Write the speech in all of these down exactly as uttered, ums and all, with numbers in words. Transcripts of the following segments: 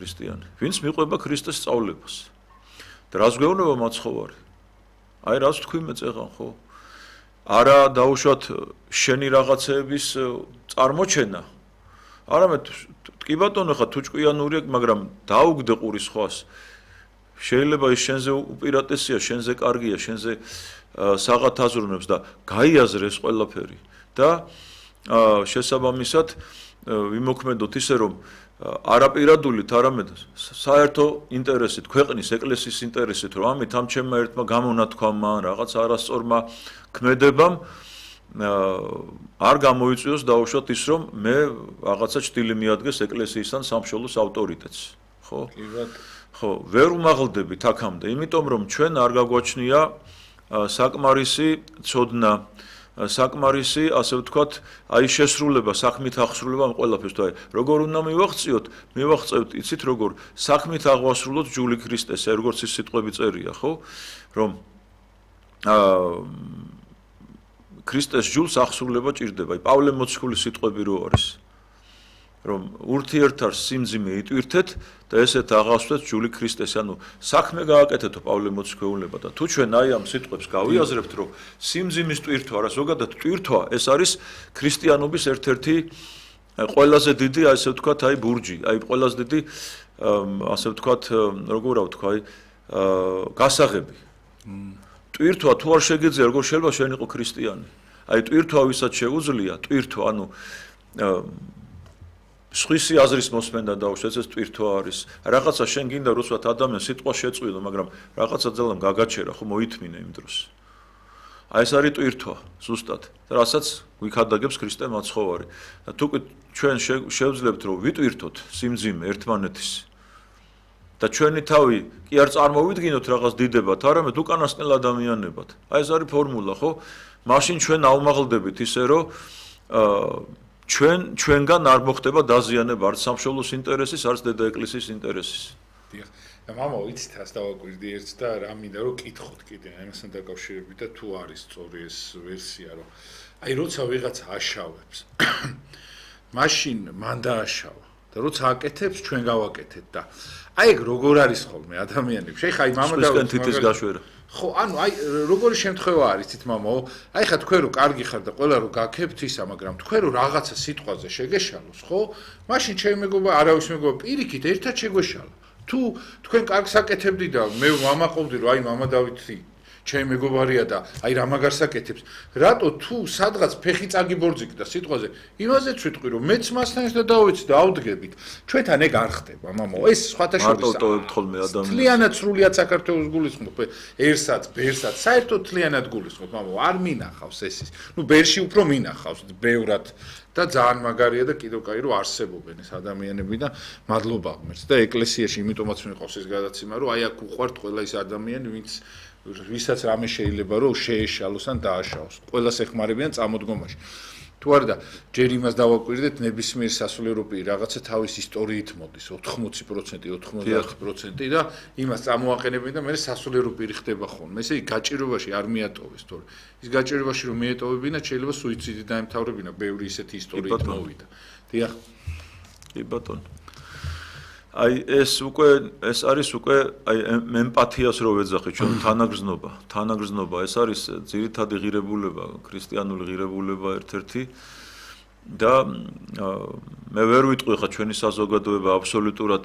ქრისტიანი. ვინც მიყვება ქრისტეს სწავლებას. და რას გვეუბნება მაცხოვარი? აი რას თქვი მე წეღან ხო? არა დაუშვათ შენი რაღაცეების წარმოჩენა. არამედ კი ბატონო ხა თუ ჭკვიანურია, მაგრამ დაუგდე ყურის ხვას. შეიძლება ის შენზე უპირატესია, შენზე კარგია, შენზე საღათ აზროვნებს და გაიაზრე ეს ყველაფერი. და შესაბამისად ვიმოქმედოთ ისე რომ არაპირადულით, არამედ საერთო ინტერესით, ქვეყნის ეკლესიის ინტერესით, რომ ამით ამ ჩემმა ერთმა გამონათქვამმა, რაღაც არასწორმა ქმედებამ არ გამოიწვიოს დაუშვათ ის, რომ მე რაღაცა ჭდილი მიადგეს ეკლესიისთან სამშობლოს ავტორიტეტს, ხო? ხო, ვერ უმაღლდებით აქამდე, იმიტომ რომ ჩვენ არ გაგვაჩნია საკმარისი ცოდნა, საკმარისი, ასე ვთქვათ, აი შესრულება, საქმით აღსრულება ამ ყველაფერს, თუ აი როგორ უნდა მივაღწიოთ, მივაღწევთ, იცით როგორ, საქმით აღვასრულოთ ჯული ქრისტეს, აი როგორც ის სიტყვები წერია, ხო? რომ აა ქრისტეს ჯულს აღსრულება ჭირდება. აი პავლე მოციქულის სიტყვები რო არის. რომ ურთიერთარ სიმძიმე იტვირთეთ და ესეთ აღასვეთ ჯული ქრისტეს, ანუ საქმე გააკეთეთო პავლე მოციქულება და თუ ჩვენ აი ამ სიტყვებს გავიაზრებთ, რომ სიმძიმის ტვირთვა, არა ზოგადად ტვირთვა, ეს არის ქრისტიანობის ერთ-ერთი ყველაზე დიდი, ასე ვთქვათ, აი ბურჯი, აი ყველაზე დიდი, ასე ვთქვათ, როგორ ვთქვა, აი გასაღები. ტვირთვა თუ არ შეგეძლია, როგორ შეიძლება შენ იყო ქრისტიანი? აი ტვირთვა ვისაც შეუძლია, ტვირთვა, ანუ სხვისი აზრის მოსმენდა დაუშვათ, ეს ტვირთვა არის. რაღაცა შენ გინდა რუსვათ ადამიანს სიტყვა შეწყვიდო, მაგრამ რაღაცა ძალამ გაგაჩერა, ხო მოითმინე იმ დროს. აი ეს არის ტვირთვა, ზუსტად. რასაც გვიქადაგებს ქრისტე მაცხოვარი. და თუ ჩვენ შევძლებთ, რომ ვიტვირთოთ სიმძიმე ერთმანეთის და ჩვენი თავი კი არ წარმოვიდგინოთ რაღაც დიდებად, არამედ უკანასკნელ ადამიანებად. აი ეს არის ფორმულა, ხო? მაშინ ჩვენ აუმაღლდებით ისე, რომ აა ჩვენ ჩვენგან არ მოხდება დაზიანება არც სამშობლოს ინტერესის, არც დედა ეკლესიის ინტერესის. დიახ. და მამა ვიცით, ას დავაკვირდი ერთს და რა მინდა რომ კითხოთ კიდე, ამასთან დაკავშირებით და თუ არის სწორი ეს ვერსია, რომ აი როცა ვიღაცა აშავებს, მაშინ მან დააშავა და როცა აკეთებს, ჩვენ გავაკეთეთ და აი ეგ როგორ არის ხოლმე ადამიანებში. შეხა აი მამა და თითის გაშვერა. ხო, ანუ აი როგორი შემთხვევა არის თით მამაო? აი ხა თქვენ რო კარგი ხარ და ყველა რო გაქებთ ისა, მაგრამ თქვენ რო რაღაცა სიტყვაზე შეგეშალოს, ხო? მაშინ ჩემი მეგობა, არავის მეგობა პირიქით ერთად შეგვეშალა. თუ თქვენ კარგს აკეთებდი და მე ვამაყობდი რომ აი მამა დავითი ჩემი მეგობარია და აი რა მაგარს აკეთებს. რატო თუ სადღაც ფეხი წაგიბორძიკდა სიტყვაზე, იმაზეც ვიტყვი რომ მეც მასთან ერთად დავეცი და ავდგებით. ჩვენთან ეგ არ ხდება, მამაო. ეს სხვათა შორის მარტო ტოვებთ ხოლმე ადამიანს. თლიანად სრულიად საქართველოს გულისხმობ, ერთსაც, ბერსაც, საერთოდ თლიანად გულისხმობ, მამაო. არ მინახავს ეს ის. ნუ ბერში უფრო მინახავს, ბევრად და ძალიან მაგარია და კიდევ კაი რომ არსებობენ ეს ადამიანები და მადლობა ღმერთს და ეკლესიაში იმიტომაც მიყვავს ეს გადაცემა, რომ აი აქ უყვართ ყველა ის ადამიანი, ვინც ვისაც რამე შეიძლება რომ შეეშალოს ან დააშავოს. ყველას ეხმარებიან წამოდგომაში. თუ არა და ჯერ იმას დავაკვირდეთ, ნებისმიერ სასულიერო პირი რაღაცა თავის ისტორიით მოდის, ოთხმოცი პროცენტი, ოთხმოცდაათი პროცენტი და იმას წამოაყენებენ და მე სასულიერო პირი ხდება ხოლმე. ესე იგი გაჭირობაში არ მიატოვეს, თორე ის გაჭირობაში რომ მიეტოვებინა, შეიძლება სუიციდით დაემთავრებინა, ბევრი ისეთი ისტორიით მოვიდა. დიახ. კი ბატონო. აი ეს უკვე ეს არის უკვე აი ემპათიას რო ვეძახი ჩვენ თანაგრძნობა, თანაგრძნობა ეს არის ძირითადი ღირებულება, ქრისტიანული ღირებულება ერთ-ერთი და მე ვერ ვიტყვი ხა ჩვენი საზოგადოება აბსოლუტურად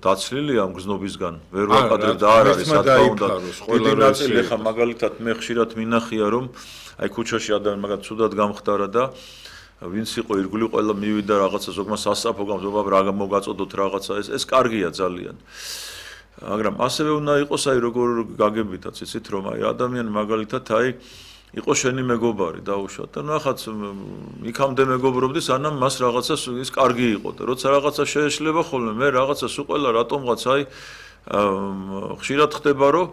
დაცლილია ამ გრძნობისგან, ვერ ვაყადებ და არ არის სათქო უნდა. დიდი ნაწილი ხა მაგალითად მე ხშირად მინახია რომ აი ქუჩაში ადამიანი მაგათ ცუდად გამხდარა და ვინც იყო ირგვლივ ყველა მივიდა რაღაცა ზოგმა სასწაფო გამზობა რა მოგაწოდოთ რაღაცა ეს ეს კარგია ძალიან. მაგრამ ასევე უნდა იყოს აი როგორ გაგებითაც იცით რომ აი ადამიანი მაგალითად აი იყო შენი მეგობარი დაუშვათ და ნახაც იქამდე მეგობრობდი სანამ მას რაღაცა ის კარგი იყო და როცა რაღაცა შეეშლება ხოლმე მე რაღაცა სულ ყველა რატომღაც აი ხშირად ხდება რომ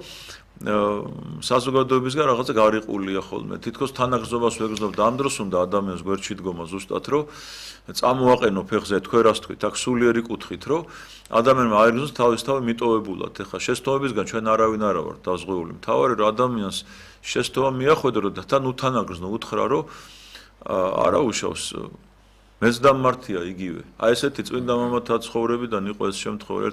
საზოგადოებისგან რაღაცა გარიყულია ხოლმე. თითქოს თანაგრძნობას ვეგრძნობ და ამ დროს უნდა ადამიანს გვერდში დგომა ზუსტად რომ წამოაყენო ფეხზე თქვენ რას თქვით, აქ სულიერი კუთხით რომ ადამიანმა აიგრძნოს თავის თავი მიტოვებულად. ეხლა შესტოვებისგან ჩვენ არავინ არა ვართ დაზღვეული. მთავარი რომ ადამიანს შესტოვა მიახვედრო და თან უთანაგრძნო უთხრა რომ არა უშავს მეც დამმართია იგივე. აი ესეთი წმინდა მამათა ცხოვრებიდან იყო ეს შემთხვევა.